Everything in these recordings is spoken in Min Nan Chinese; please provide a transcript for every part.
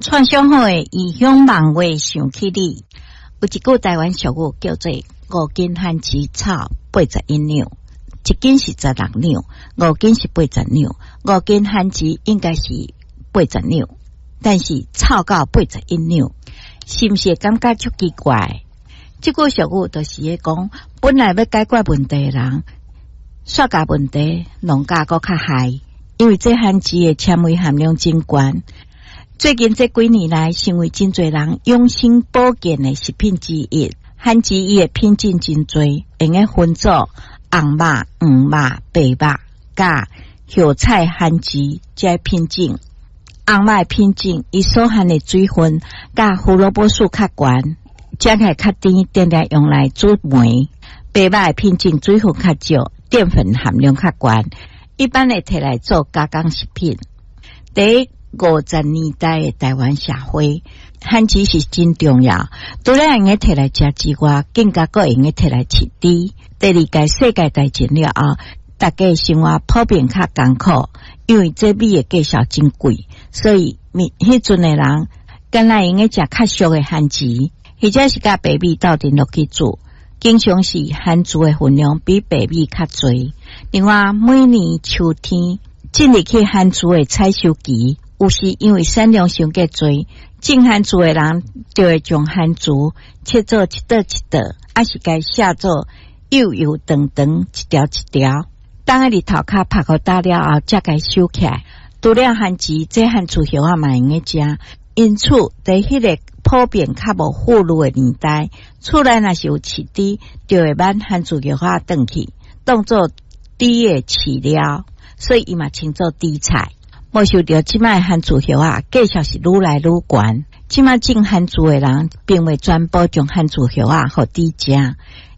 創上好的異鄉網話想起你，有一句台灣俗語叫做“5斤番薯臭81兩”，1斤是16兩，5斤是80兩，5斤番薯應該是八十兩，但是臭到八十一兩，是毋是會感覺足奇怪？這句俗語就是咧講，本來欲解決問題的人，煞共問題弄甲閣較害，因為這番薯的纖維含量真懸。最近這幾年來，成為真濟人養生保健的食品之一。番薯伊的品種真濟，會用分做紅肉、黃肉、白肉，佮葉菜番薯這品種。紅肉的品種，伊所含的水分佮胡蘿蔔素較懸，食起來較甜，定定用來煮糜。白肉的品種水分較少，澱粉含量較懸，一般會提來做加工食品。佇50年代的台灣社會，番薯是真重要。除了會用提來食之外，更加閣會用提來飼豬。第二屆世界大戰了後，大家生活普遍較艱苦，因為這米的價數真貴，所以彼陣的人敢若會用食較俗的番薯，或者是佮白米鬥陣落去煮，經常是番薯的份量比白米較濟。另外，每年秋天進入去番薯的採收期，有時因為產量傷過濟，種番薯的人就會將番薯切做一朵一朵，抑是共寫做幼幼長長一條一條。等日頭較曬予焦了後，才共收起來。除了番薯，這番薯葉仔嘛會用食。因此，佇彼個普遍較無富裕的年代，厝內若是有飼豬，就會挽番薯葉仔轉去，當做豬的飼料，所以伊嘛稱做豬菜。無想著這擺番薯葉仔價數是愈來愈懸。這擺種番薯的人，並未全部將番薯葉仔予豬食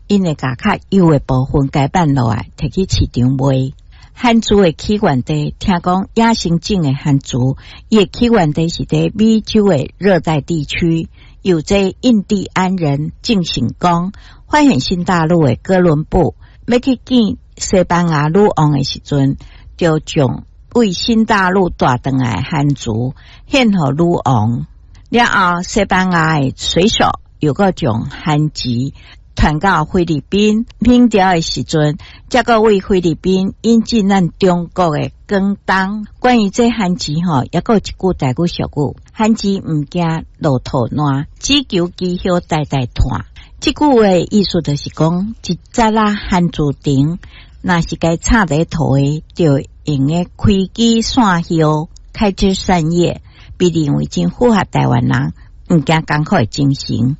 ，𪜶會共較幼的部分共挽落來，提去市場賣。番薯的起源地，聽講野生種的番薯，伊的起源地是佇美洲的熱帶地區，由這印第安人鄭成功發現新大陸的哥倫布，欲去見西班牙女王的時陣，就將為新大陸帶轉來的番薯獻予女王。了後，西班牙的水手又閣將番薯傳到菲律賓，明朝的時陣，才閣為菲律賓引進咱中國的廣東。關於這番薯吼，猶閣有一句台語俗語：番薯毋驚落土爛，只求枝葉代代傳。這句話的意思就是講，一節仔番薯藤，若是共插佇土的，就會用得開枝散葉，開枝散葉，被認為真符合台灣人毋驚艱苦的精神。